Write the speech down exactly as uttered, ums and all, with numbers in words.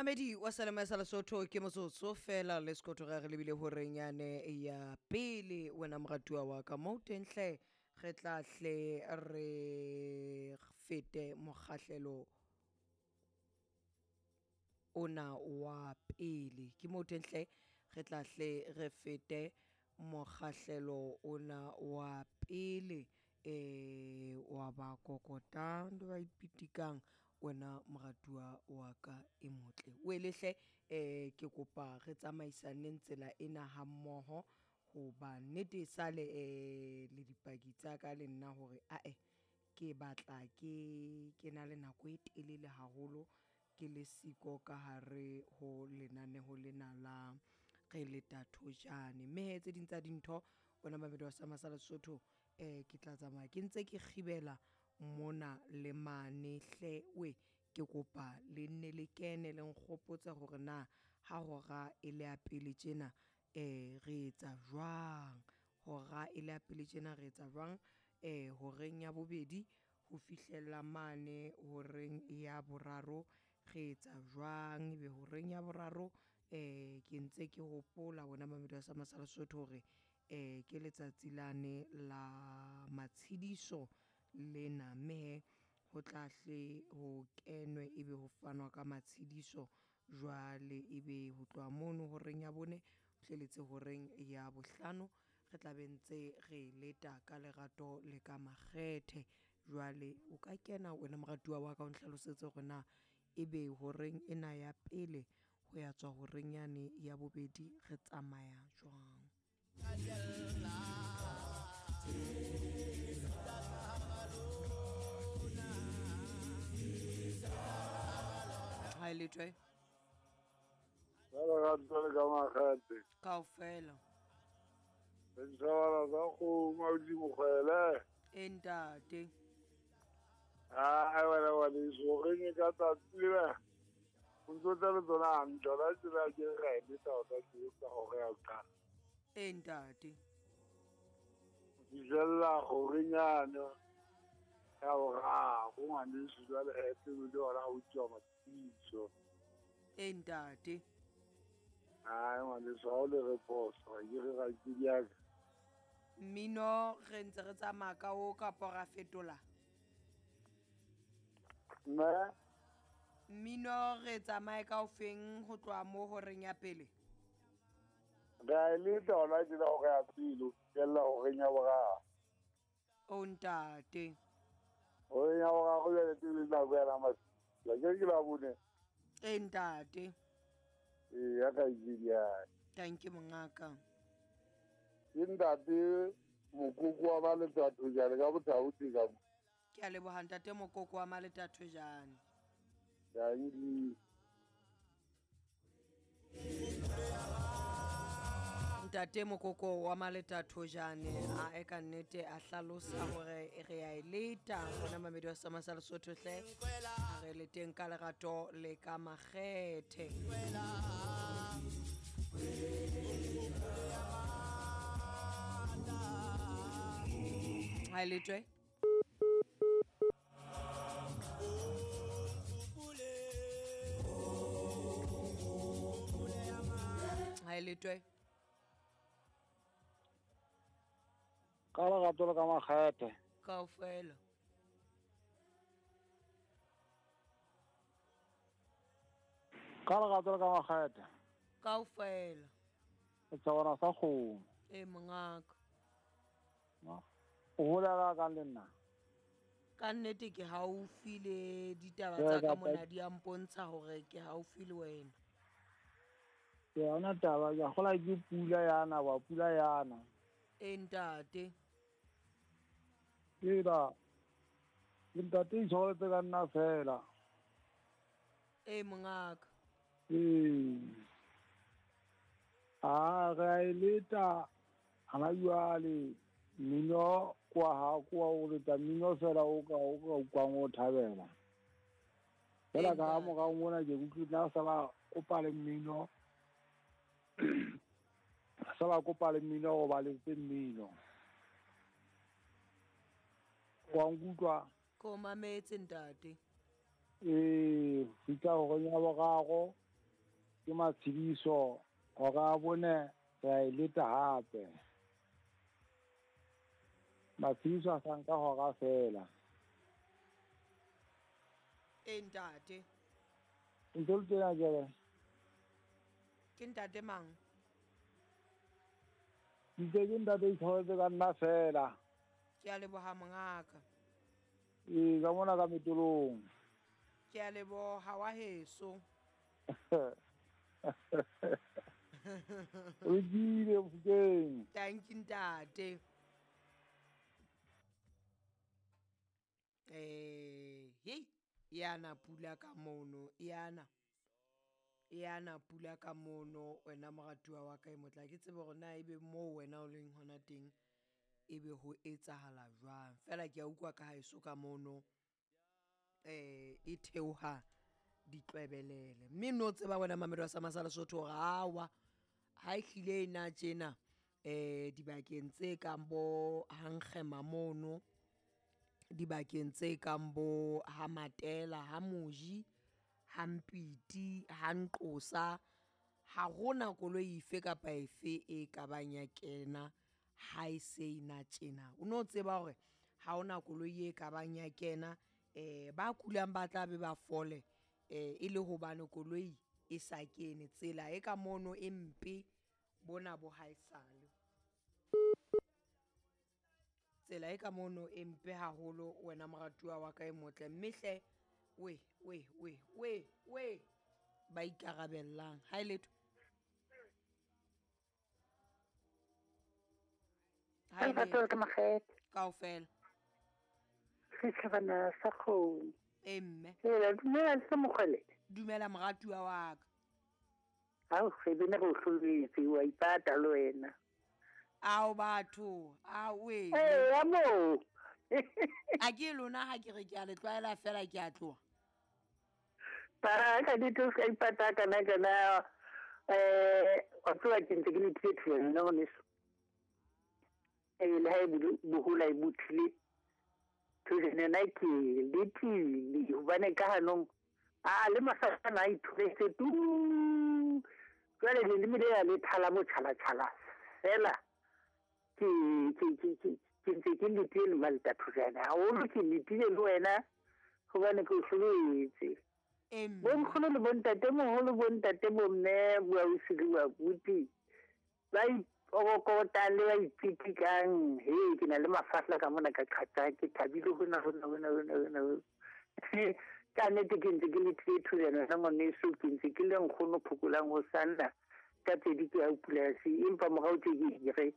Mamedi wa Salema sa Lesotho ke motsotso fela le sekotho ge re lebile horeng yane ya pele. Wena moratuwa wa ka mo teng hle, re tla hle re fete mokgahlelo ona wa pele. Ke mo teng hle, re tla hle re fete mokgahlelo ona wa pele eh wa ba kokotang le ba ipitikang. Wena moratuwa wa ka e motle o elehle, eh ke kopa re tsamaisaneng tsela ena hammoho, hoba nnete e sale eh le dipaki tsa ka le nna hore ae ke batla ke ke na le nako e telele haholo ke le siko ka hare ho lenaneho lena la re leta thojane. Mme hee tse ding tsa dintho wena mamedi wa Sama sa Lesotho, eh ke tla tsamaya ke ntse ke kgibela mona le mane hle we. Ke kopa le nne le kene le nkgopotse hore na ha hora e le ya pele tjena eh re etsa jwang, hora e le ya pele tjena re etsa jwang, eh horeng ya bobedi ho fihlella mane horeng ya boraro re etsa jwang, ebe horeng ya boraro eh ke ntse ke hopola wena mamedi wa Sama sa Lesotho hore eh ke letsatsi lane la matshidiso lena, mme hee ho tla hle ho kenwe ebe ho fanwa ka matshidiso. Jwale ebe ho tloha mono horeng ya bone ho hleletse horeng ya bohlano re tla be ntse re leta ka lerato le ka makgethe. Jwale o ka kena wena moratuwa wa ka o nhlalosetse hore na ebe horeng ena ya pele ho ya tswa horeng yane ya bobedi re tsamaya jwang. Ha e lethwe Ka lerato le ka makgethe. Kaofela. Setjhabana sa kgomo ausi Mokgwele. E ntate. Ai wena ngwaneso, horeng e ka tsatsi lena o ntso tla le tsona hantle. Hona tjena ke re ra e leta hona tje ka hora ya ho qala. E ntate. Ho fihlella horeng yane ya boraro ngwaneso, jwale hee tsebe le hona ho utlwa matshediso. E ntate. Ai ngwaneso, ha o le re phoso, ha ke re rakgadi ya ka. Mmino re ntse re tsamaya ka o kapa ra fetola? Mme? Mmino re tsamaye ka ofeng ho tloha mo horeng ya pele? Re a e leta hona tjena hora ya pele ho fihlella horeng ya boraro. O ntate. Horeng ya boraro jwale ke nako ya matshediso. Akere ke Labone? E ntate. Ee, ya kgaitsedi ya ka. Thank you mongaka. Ke ntate Mokoko wa Maletathojane ka Bothaote ka mo. Ke a leboha ntate Mokoko wa Maletathojane. Dankie. Ntate Mokoko wa Maletathojane a e ka nnete a hlalosa hore re a e leta hona mamedi wa Sama sa Lesotho hle, a re leteng ka lerato le ka makgethe. Ha e letwe. Ha e letwe. Ka lerato le ka makgethe. Kaofela. Ka lerato le ka makgethe. Kaofela. Setjhabana sa kgomo. E mongaka. O holela ka le nna? Ka nnete ke haufi le ditaba tsa ka mona di a mpontsha hore ke haufi le wena. Ke yona taba, ke a kgolwa ke pula yana wa pula yana. E ntate. Ke ba ke ntate itshwaretse ka nna fela. E mongaka. Ee. A re a e leta hana jwale mmino kwa ha kwa o leta mmino fela o ka o ka utlwang o thabela. Fela ka ha morao mona ke utlwile na sa ba kopa le mmino. Sa ba kopa le mmino go ba letse mmino. Wa nkutlwa? Ko mametse ntate. Ee, fihla horeng ya boraro ke Matshidiso, hora ya bone re a e leta hape. Matshidiso a sa nka hora feela. E ntate. Ntho le tena jwale. Ke ntate mang? Ntse ke ntate itshwaretse ka nna feela. Ke a leboha mongaka. Ee, ka mona ka metolong. Ke a leboha wa heso. O lokile Mofokeng. Thank you ntate. Eh, hei, yana pula ka mono, yana. Yana pula ka mono wena moratuwa wa ka e motla ke tsebe hore na ebe moo wena o leng hona teng ebe ho etsahala jwang. Feela ke a utlwa ka haeso ka mono eh e theoha ditlwebelele. Mme no tseba wena mamedi wa Sama sa Lesotho hore awa ha e hlile e na tjena eh dibakeng tse kang bo Hankgema mono, dibakeng tse kang bo ha Matela, ha Moji, ha Mpiti, ha Nqosa, ha hona koloi efe kapa efe e ka bang ya kena ha e se e na tjena. O no tseba hore ha hona koloi e ka bang ya kena, eh ba kulang ba tla be ba fole eh e le hobane koloi e sa kene. Tsela e ka mono e mpe bona bo haesale. Tsela e ka mono e mpe haholo wena moratuwa wa ka e motle. Mme hle we we we we we ba ikarabellang. Ha e letho. Ha e letho. Ke Makgethe. Kaofela. Setjhabana sa kgomo. E mme. Hela, dumela le Mokgwele. Dumela moratuwa wa ka. Hao, re bene re o hloletse, wa ipata le wena. Ao batho, a we. Eh, ya moo. A ke lona ha ke re ke a le tlwaela fela ke a tloha. Ba ka ditho ka ipata kana kana eh o tloha ke ntse ke le theater nna ngwaneso. Eh le ha e bohula e butlile. Thujene na ke le tile hobane ka hanong a le masana a ithuletse tu. Jwale le le mele le thala mo tshala tshala fela. Ke ke ke ke ke ntse ke letile le malta thujana haholo ke letile le wena hobane ke o hloletse. Emme. Bonkgono le bontate moholo, bontate bomme, boausi le boabuti ba ipokotang le ba ipitikang. He ke na le mafahla ka mona ka qhatsa ke thabile hona hona hona hona hona. Ka nnete ke ntse ke letile thujana wena ngwaneso, ke ntse ke le nkgono phokolang ho sanna ka pedi ke ya polasi empa morao tje ke re